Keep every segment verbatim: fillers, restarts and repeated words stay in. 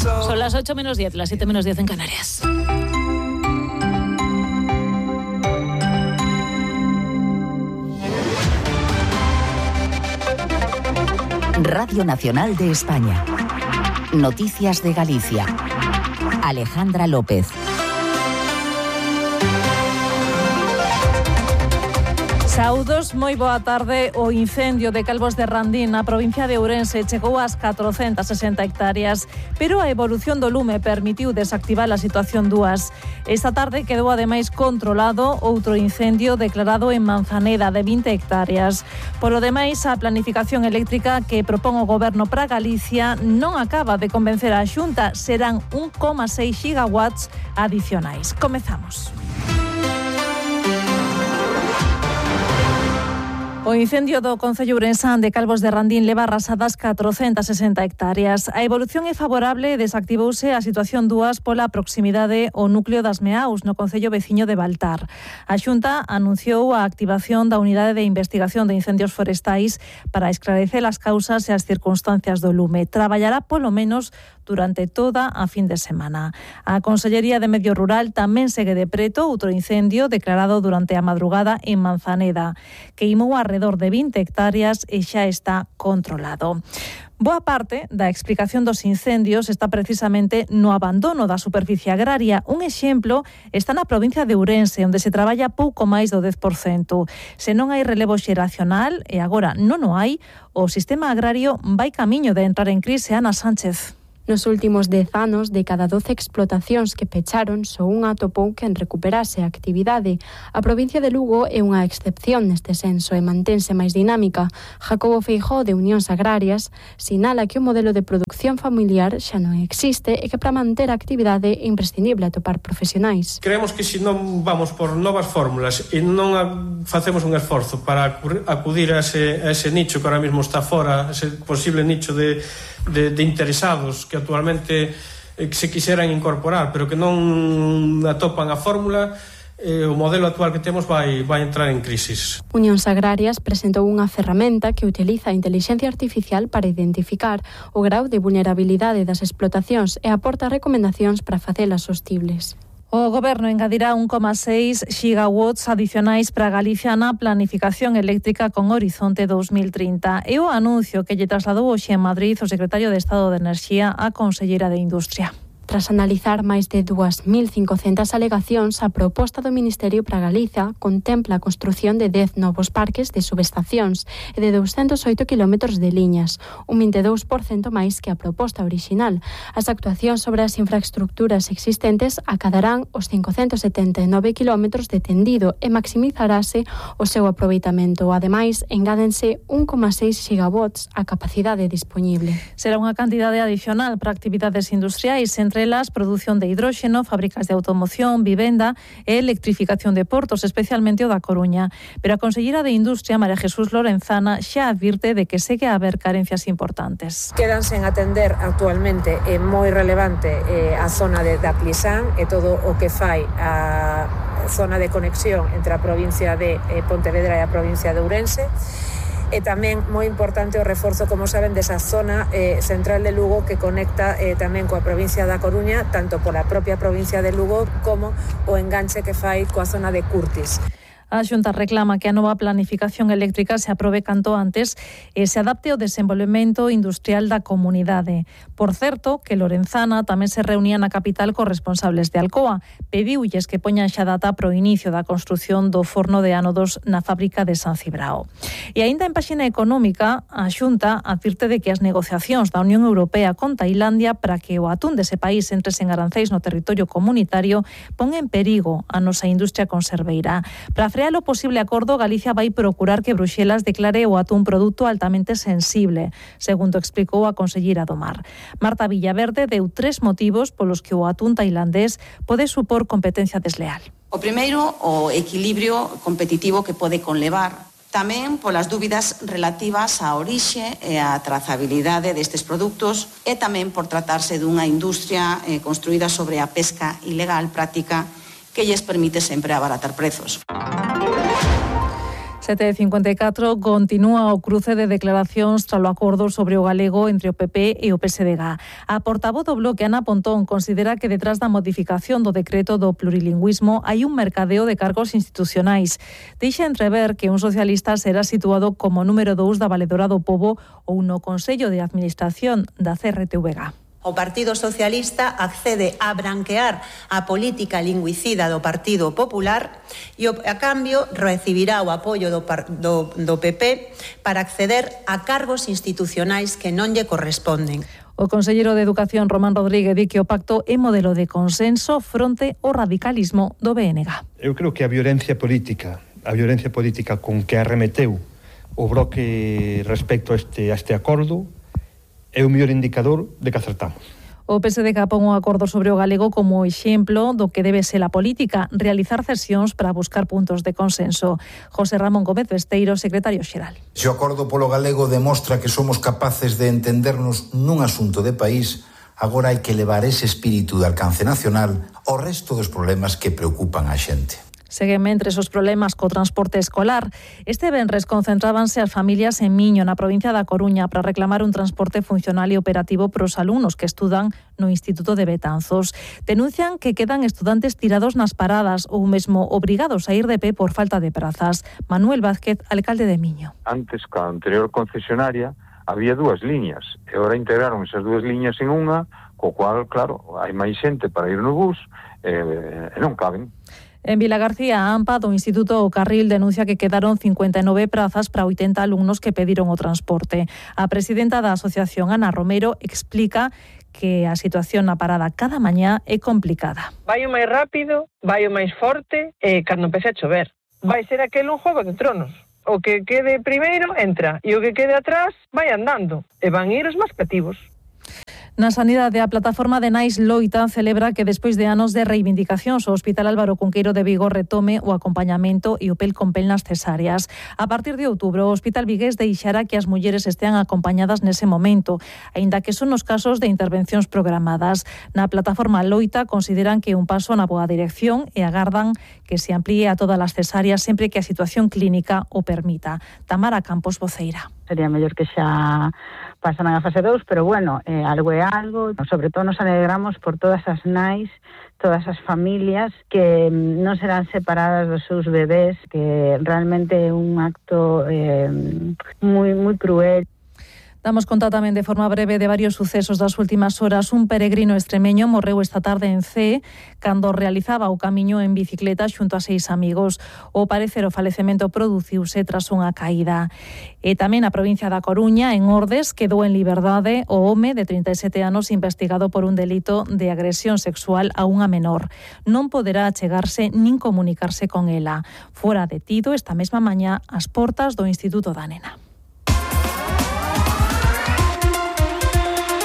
Son las ocho menos diez, las siete menos diez en Canarias. Radio Nacional de España. Noticias de Galicia. Alejandra López. Saúdos, moi boa tarde. O incendio de Calvos de Randín na provincia de Ourense chegou ás catrocentas sesenta hectáreas, pero a evolución do lume permitiu desactivar a situación dúas. Esta tarde quedou ademais controlado outro incendio declarado en Manzaneda de vinte hectáreas. Polo demais, a planificación eléctrica que propón o Goberno para Galicia non acaba de convencer a Xunta. Serán un coma seis gigawatts adicionais. Comezamos. O incendio do concello ourensán de Calvos de Randín leva arrasadas catrocentas sesenta hectáreas. A evolución é favorable e desactivouse a situación dúas pola proximidade ao núcleo das Meaus, no concello veciño de Baltar. A Xunta anunciou a activación da Unidade de Investigación de Incendios Forestais para esclarecer as causas e as circunstancias do lume. Traballará polo menos durante toda a fin de semana. A Consellería de Medio Rural tamén segue de preto outro incendio declarado durante a madrugada en Manzaneda, que imou arredor de vinte hectáreas e xa está controlado. Boa parte da explicación dos incendios está precisamente no abandono da superficie agraria. Un exemplo está na provincia de Ourense, onde se traballa pouco máis do dez por cento. Se non hai relevo xeracional, e agora non o hai, o sistema agrario vai camiño de entrar en crise. Ana Sánchez. Nos últimos dez anos, de cada doce explotacións que pecharon, só unha atopou quen recuperase a actividade. A provincia de Lugo é unha excepción neste senso e mantense máis dinámica. Jacobo Feijóo, de Unións Agrarias, sinala que o modelo de produción familiar xa non existe e que para manter a actividade é imprescindible atopar profesionais. Creemos que se non vamos por novas fórmulas e non facemos un esforzo para acudir a ese, a ese nicho que ahora mesmo está fora, ese posible nicho de, de, de interesados que actualmente eh, se quixeran incorporar, pero que non atopan a fórmula, eh, o modelo actual que temos vai, vai entrar en crisis. Unións Agrarias presentou unha ferramenta que utiliza a intelixencia artificial para identificar o grau de vulnerabilidade das explotacións e aporta recomendacións para facelas sostibles. O Goberno engadirá un coma seis gigawatts adicionais para Galicia na planificación eléctrica con horizonte dos mil trinta. E o anuncio que lle trasladou hoxe en Madrid o secretario de Estado de Enerxía á conselleira de Industria. Tras analizar máis de dúas mil cincocentas alegacións, a proposta do Ministerio para Galicia contempla a construción de dez novos parques de subestacións e de douscentos oito quilómetros de liñas, un vinte e dous por cento máis que a proposta orixinal. As actuacións sobre as infraestructuras existentes acadarán os cincocentos setenta e nove quilómetros de tendido e maximizarase o seu aproveitamento. Ademais, engádense un coma seis gigawatts a capacidade dispoñible. Será unha cantidade adicional para actividades industriais, entre elas produción de hidróxeno, fábricas de automoción, vivenda e electrificación de portos, especialmente o da Coruña. Pero a conselleira de Industria, María Jesús Lorenzana, xa advirte de que segue a haber carencias importantes. Quedan sen atender actualmente é moi relevante eh, a zona de da Clisán e todo o que fai a zona de conexión entre a provincia de eh, Pontevedra e a provincia de Ourense. E tamén moi importante o reforzo, como saben, desa zona eh, central de Lugo que conecta eh, tamén coa provincia da Coruña, tanto pola propia provincia de Lugo como o enganche que fai coa zona de Curtis. A Xunta reclama que a nova planificación eléctrica se aprobe canto antes e se adapte ao desenvolvemento industrial da comunidade. Por certo, que Lorenzana tamén se reunía na capital cos responsables de Alcoa. Pediulles que poñan xa data pro inicio da construción do forno de ánodos na fábrica de San Cibrao. E aínda en páxina económica, a Xunta advirte de que as negociacións da Unión Europea con Tailandia para que o atún dese país entre sen aranceis no territorio comunitario pon en perigo a nosa industria conserveira. Para frear o posible acordo, Galicia vai procurar que Bruxelas declare o atún produto altamente sensible, segundo explicou a conselleira do Mar. Marta Villaverde deu tres motivos polos que o atún tailandés pode supor competencia desleal. O primeiro, o equilibrio competitivo que pode conlevar. Tamén polas dúbidas relativas á orixe e á trazabilidade destes produtos e tamén por tratarse dunha industria eh, construída sobre a pesca ilegal práctica que lles permite sempre abaratar prezos. sete e cincuenta e catro, continúa o cruce de declaracións tras o acordo sobre o galego entre o P P e o P S D G. A portavoz do Bloque, Ana Pontón, considera que detrás da modificación do decreto do plurilingüismo hai un mercadeo de cargos institucionais. Deixa entrever que un socialista será situado como número dous da Valedora do Pobo ou no Consello de Administración da C R T V G. O Partido Socialista accede a branquear a política lingüicida do Partido Popular e, a cambio, recibirá o apoio do, do, do P P para acceder a cargos institucionais que non lle corresponden. O conselleiro de Educación, Román Rodríguez, di que o pacto é modelo de consenso fronte ao radicalismo do B N G. Eu creo que a violencia política, a violencia política con que arremeteu o Bloque respecto a este, a este acordo é o mellor indicador de que acertamos. O P S D G pon un acordo sobre o galego como exemplo do que debe ser a política, realizar cesións para buscar puntos de consenso. José Ramón Gómez Besteiro, secretario xeral. Se o acordo polo galego demostra que somos capaces de entendernos nun asunto de país, agora hai que levar ese espírito de alcance nacional ao resto dos problemas que preocupan a xente. Seguen mentres os problemas co transporte escolar. Este venres concentrábanse as familias en Miño, na provincia da Coruña, para reclamar un transporte funcional e operativo para os alumnos que estudan no Instituto de Betanzos. Denuncian que quedan estudantes tirados nas paradas ou mesmo obrigados a ir de pé por falta de prazas. Manuel Vázquez, alcalde de Miño. Antes, ca anterior concesionaria, había dúas liñas, e agora integraron esas dúas liñas en unha, co cual, claro, hai máis xente para ir no bus e, e non caben. En Vilagarcía, a AMPA do Instituto O Carril denuncia que quedaron cincuenta e nove prazas para oitenta alumnos que pediron o transporte. A presidenta da asociación, Ana Romero, explica que a situación na parada cada mañá é complicada. Vai o máis rápido, vai o máis forte e cando empece a chover. Vai ser aquel un Juego de Tronos. O que quede primeiro entra e o que quede atrás vai andando e van ir os máis cativos. Na sanidade, a plataforma de Nais loita celebra que despois de anos de reivindicacións o Hospital Álvaro Cunqueiro de Vigo retome o acompañamento e o pel con pel nas cesáreas. A partir de outubro, o Hospital Vigués deixará que as mulleres estean acompañadas nese momento, aínda que son os casos de intervencións programadas. Na plataforma loita consideran que é un paso na boa dirección e agardan que se amplíe a todas as cesáreas sempre que a situación clínica o permita. Tamara Campos, voceira. Sería mellor que xa pasaran a fase dous, pero bueno, eh, algo é algo. Sobre todo nos alegramos por todas as nais, todas as familias que non serán separadas dos seus bebés, que realmente é un acto eh, moi, moi cruel. Damos conta tamén de forma breve de varios sucesos das últimas horas. Un peregrino extremeño morreu esta tarde en Cee cando realizaba o camiño en bicicleta xunto a seis amigos. O parecer o falecemento produciuse tras unha caída. E tamén a provincia da Coruña, en Ordes, quedou en liberdade o home de trinta e sete anos investigado por un delito de agresión sexual a unha menor. Non poderá achegarse nin comunicarse con ela. Fora detido esta mesma mañá ás portas do Instituto da Nena.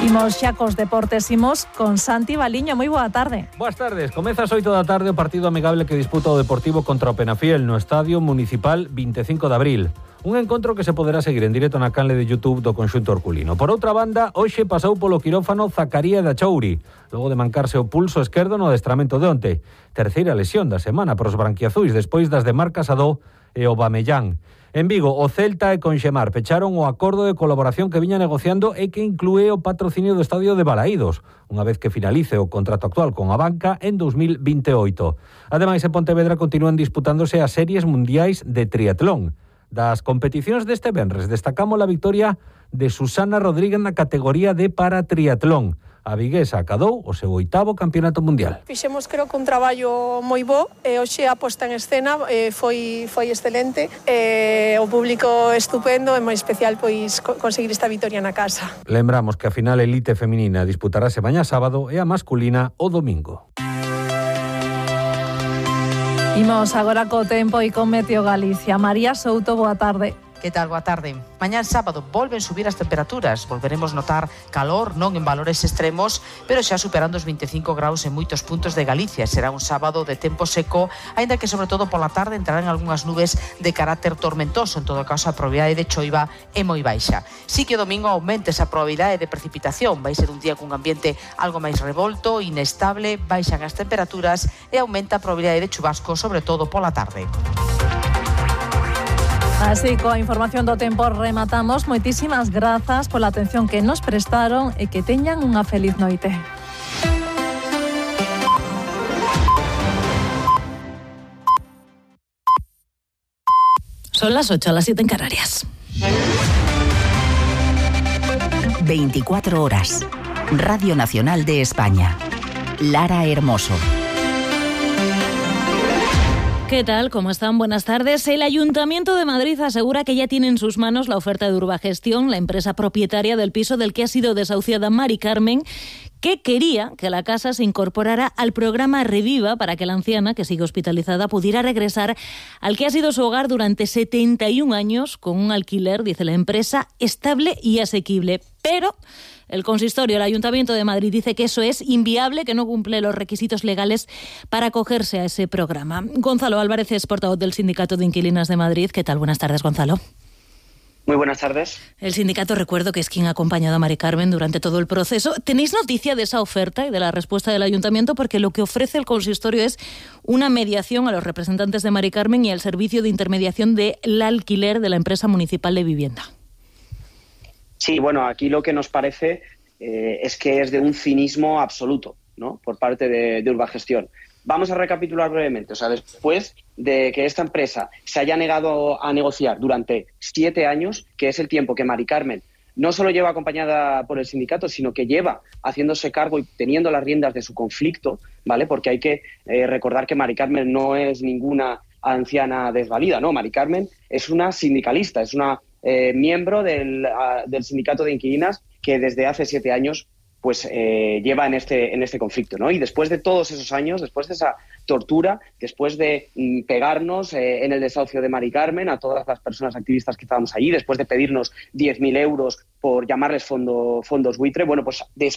Imos xa cos deportes, imos con Santi Baliño. Moi boa tarde. Boas tardes. Comeza ás oito da tarde o partido amigable que disputa o Deportivo contra o Penafiel no Estadio Municipal vinte e cinco de abril. Un encontro que se poderá seguir en directo na canle de YouTube do conxunto herculino. Por outra banda, hoxe pasou polo quirófano Zacaría da Chouri, logo de mancarse o pulso esquerdo no adestramento de onte. Terceira lesión da semana para os branquiazuis despois das de Marc Casadó e o Bamellán. En Vigo, o Celta e Conxemar pecharon o acordo de colaboración que viña negociando e que inclúe o patrocinio do estadio de Balaídos, unha vez que finalice o contrato actual con a banca en dos mil vinte e oito. Ademais, en Pontevedra continúan disputándose as series mundiais de triatlón. Das competicións deste venres destacamos a victoria de Susana Rodríguez na categoría de paratriatlón. A viguesa acadou o seu oitavo campeonato mundial. Fixemos, creo que un traballo moi bo, e hoxe a posta en escena eh, foi foi excelente, eh, o público estupendo e moi especial pois conseguir esta vitoria na casa. Lembramos que a final elite feminina disputarase mañá sábado e a masculina o domingo. Imos agora co tempo e con Meteo Galicia. María Souto, boa tarde. Que tal? Boa tarde. Mañán sábado volven subir as temperaturas. Volveremos notar calor, non en valores extremos, pero xa superando os vinte e cinco graus en moitos puntos de Galicia. Será un sábado de tempo seco, aínda que sobre todo pola tarde entrarán algunhas nubes de carácter tormentoso. En todo caso, a probabilidade de choiva é moi baixa. Si que o domingo aumenta esa probabilidade de precipitación. Vai ser un día cun ambiente algo máis revolto, inestable, baixan as temperaturas e aumenta a probabilidade de chubasco, sobre todo pola tarde. Así, coa información do tempo rematamos. Moitísimas grazas pola atención que nos prestaron e que teñan unha feliz noite. Son las ocho, las siete en Canarias. veinticuatro horas. Radio Nacional de España. Lara Hermoso. ¿Qué tal? ¿Cómo están? Buenas tardes. El Ayuntamiento de Madrid asegura que ya tiene en sus manos la oferta de Urbagestión, la empresa propietaria del piso del que ha sido desahuciada Mari Carmen, que quería que la casa se incorporara al programa Reviva para que la anciana, que sigue hospitalizada, pudiera regresar al que ha sido su hogar durante setenta y un años con un alquiler, dice la empresa, estable y asequible. Pero el consistorio, el Ayuntamiento de Madrid, dice que eso es inviable, que no cumple los requisitos legales para acogerse a ese programa. Gonzalo Álvarez es portavoz del Sindicato de Inquilinas de Madrid. ¿Qué tal? Buenas tardes, Gonzalo. Muy buenas tardes. El sindicato, recuerdo que es quien ha acompañado a Mari Carmen durante todo el proceso. ¿Tenéis noticia de esa oferta y de la respuesta del Ayuntamiento? Porque lo que ofrece el consistorio es una mediación a los representantes de Mari Carmen y al servicio de intermediación del alquiler de la empresa municipal de vivienda. Sí, bueno, aquí lo que nos parece eh, es que es de un cinismo absoluto, ¿no?, por parte de, de Urbagestión. Vamos a recapitular brevemente. O sea, después de que esta empresa se haya negado a negociar durante siete años, que es el tiempo que Mari Carmen no solo lleva acompañada por el sindicato, sino que lleva haciéndose cargo y teniendo las riendas de su conflicto, ¿vale? Porque hay que eh, recordar que Mari Carmen no es ninguna anciana desvalida, ¿no? Mari Carmen es una sindicalista, es una eh, miembro del, uh, del sindicato de inquilinas que desde hace siete años pues eh, lleva en este, en este conflicto, ¿no? Y después de todos esos años, después de esa tortura, después de mm, pegarnos eh, en el desahucio de Mari Carmen a todas las personas activistas que estábamos allí, después de pedirnos diez mil euros por llamarles fondo, fondos buitre, bueno, pues después